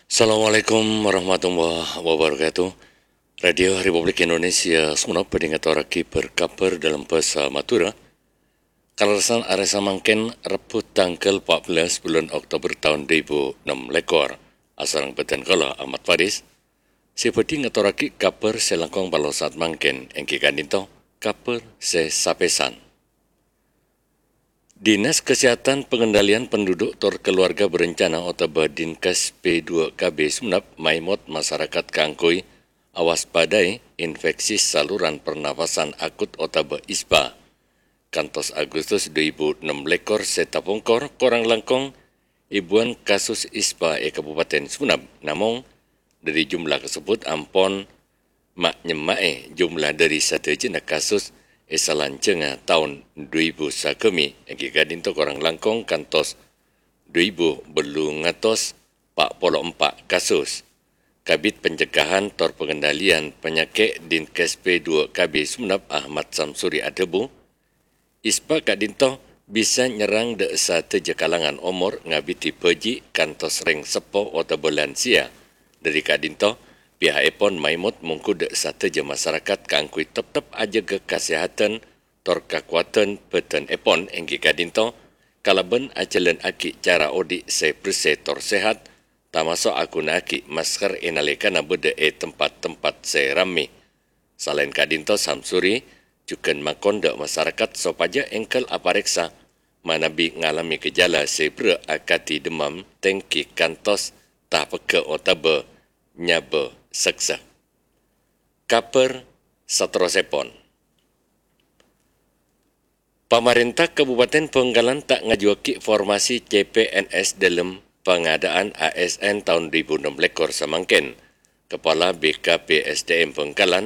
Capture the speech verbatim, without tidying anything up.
Assalamualaikum warahmatullahi wabarakatuh. Radio Republik Indonesia Sumenep bhâdhi ngatorraghi bâr-kabhâr dâlem bhâsa Madhurâ. Kalerressan arè samangkèn, Rebbhu tangghâl pa' bellâs bulân Oktober taon du èbu ennem lèkor. Asareng bhâdhân kaulâ Ahmad Faris, sè bhâdhi ngatorraghi kabhâr sè langkong palossa'at mangkèn, èngghi ka'dinto kabhâr sè sapèsan. Dinas Kesehatan Pengendalian Penduduk tor Keluarga Berencana otabâ Dinkes P dua K B Sumenep maèmot masarakat kaangghuy awaspadai infeksi saluran pernafasan akut otabâ ISPA. Kantos Agustus du èbu ennem lèkor sè tapongkor, korang langkong èbuwân kasus ISPA è Kabupaten Sumenep. Namong, dhâri jumlah kasebbhut ampon ma'-nyemma'è jumlah dhâri sadhâjâna kasus è salanjhângnga taon du èbu sagâmè, èngghi ka'dinto korang langkong kantos du èbu bâllung atos pa' polo empa' kasus. Kabid Pencegahan tor Pengendalian Panyakè' Dinkes P dua K B Sumenep Ahmad Samsuri adhâbu, ISPA ka'dinto bisa nyerrang dhâ' sadhâjâ kalangan omor ngabidhi bhâji' kantos rèng seppo otabâ lansia. Dhâri ka'dinto, piha'èpon maèmot mongghu dhâ' sadhâjâ masarakat kaangghuy teptep ajâgâ kasèhadhân tor kakowadhân bhâdhânèpon èngghi ka'dinto kalabân ajhâlânaghi cara odi' sè bersè tor sehat, tamaso' aghuna'aghi masker è nalèkana bâdâ è tempat-tempat sè rammè. Salaèn ka'dinto, Samsuri jhughân makon dhâ' masarakat sopajâ èngghâl aparèksa manabi ngalamè gejala sè berrâ' akadhi demam tèngghi kantos tapeggâ' otabâ nyabâ seksa. Kabhâr saterrossèpon. Pamarènta Kabupaten Bhângkalan ta' ngajuwâghi formasi C P N S dâlem pangadâ'ân A S N taon du èbu ennem lèkor samangkèn. Kepala B K P S D M Bhângkalan,